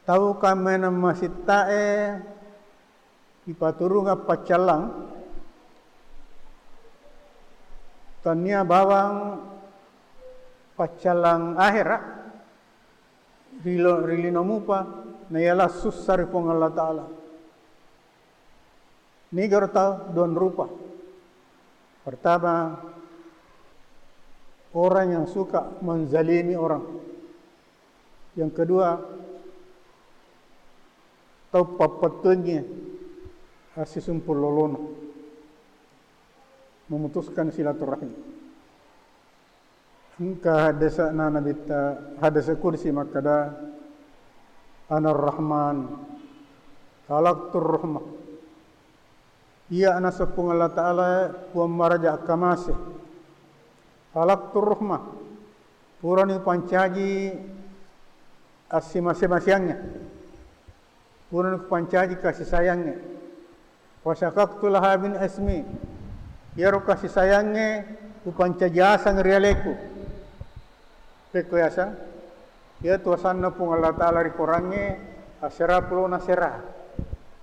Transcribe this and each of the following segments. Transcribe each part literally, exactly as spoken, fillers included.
Tau kaminang masitta'e ipaturungeng paccallang, tania bawang paccallang ahera, rilo-, ri lino mupa, naiyalah sussa ri Puang Allah Ta'ala. Nigaro tau dua rupa. Pertama, orang yang suka menzalimi orang. Yang kedua, tau pappettuangngi assisumpung lolona, memutuskan silaturahim. Engka haddese'na Nabitta, hadese' kudsi makkeda, "Anar Rahman, khalaqtur rahmah." Iya, naseng Puang Allah Ta'ala, Puang maraja akkamase. Khalaqtur rahmah, purani upancaji assimase-maseangnge. Purani kupancaji kasih sayangnge. Wa syaqaqtu laha min ismi. Iyaro kasih sayangnge kupancaji aseng ri aleku. Pekko yaseng? Iyatu asanna Puang Allah Ta'ala ri korangnge, asera pulona sera.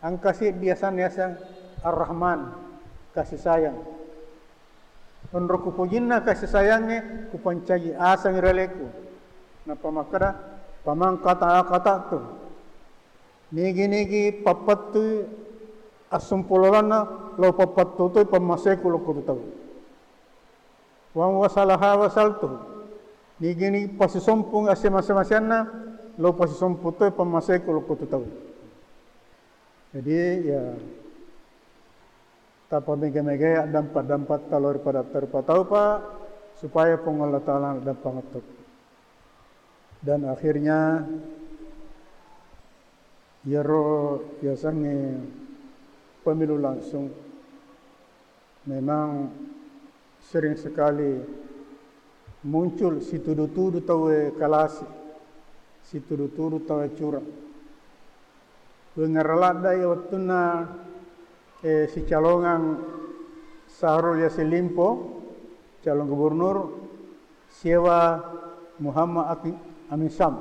Engka seddi asanna yaseng Ar-Rahman, kasih sayang. Onro kupojinna kasih sayangnge, kupancaji aseng ri aleku. Nappa makkeda, "Faman qata'a qata'tu." Nigi-nigi pappettui assumpung lolona, lo pappettu toi pammaseku lokko tu tau. "Wa man wasalaha wasaltuhu." Nigi-nigi pasisompung asse-, mase-maseanna, lo pasisompung toi pammaseku lokko tu tau. Jadi, ya, tapamega-megai addampa-dampatta lao ri padatta rupa taupa, supaya Puang Allah Ta'ala naddampangeng to. Dan akhirnya, iyaro yasengnge pemilu langsung memang sering sekali muncul situdu-tudu tauwe kalasi, situdu-tudu tauwe curang. Wengngara ladde'i wettunna, eh, sicalongang Syahrul Yassin Limpo, calon gubernur, siewa Muhammad Aki-, Amin Syam.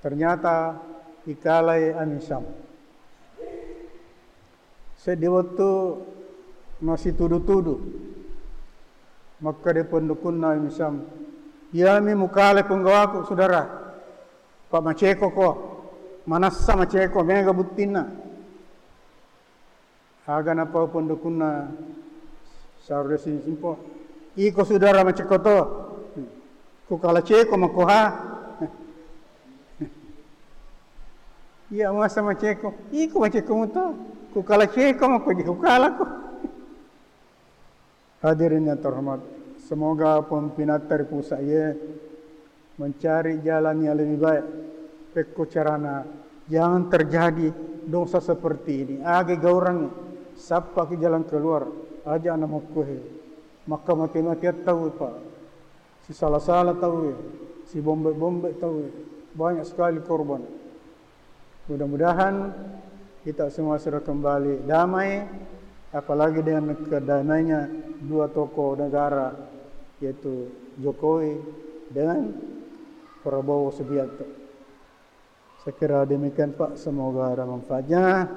Ternyata ikalai Amin Syam. Seddi wettu masitudu-tudu. Makkeda pendukkunna Amin Syam, "Iyami mukale punggawaku, Sudara. Pa maceko ko. Manassa maceko, mega buttinna." Aga napau pendukkunna Syahrul Yassin Limpo, "Iko Sudara maceko to. Kukala ceko mako ha." "Iya, masa maceko?" "Iko maceko muto. Kukala ceko mako, je kukala ko." Hadirin yang terhormat, semoga pemimpinatta ri pusat ye mencari jalan yang lebih baik. Pekko carana, jangan terjadi dosa seperti ini. Aga gaurangngi, sappaki jalan keluar, aja na mokkohe. Makka mate-mateang tau, Pak. Sisala-sala tauwe, sibombe-bombe tauwe, banyak sekali korban. Mudah-mudahan kita semua sudah kembali damai, apalagi dengan kedamainya dua tokoh negara, yaitu Jokowi dengan Prabowo Subianto. Saya kira demikian, Pak. Semoga ada manfaatnya.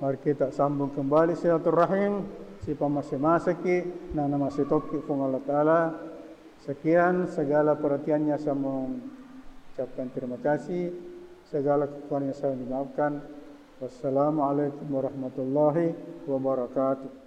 Mari kita sambung kembali silaturahim. Sipamase-maseki, nana masitokki Puang Allah Ta'ala. Sekian segala perhatiannya, saya mengucapkan terima kasih. Segala kekurangannya saya dimaafkan. Wassalamualaikum warahmatullahi wabarakatuh.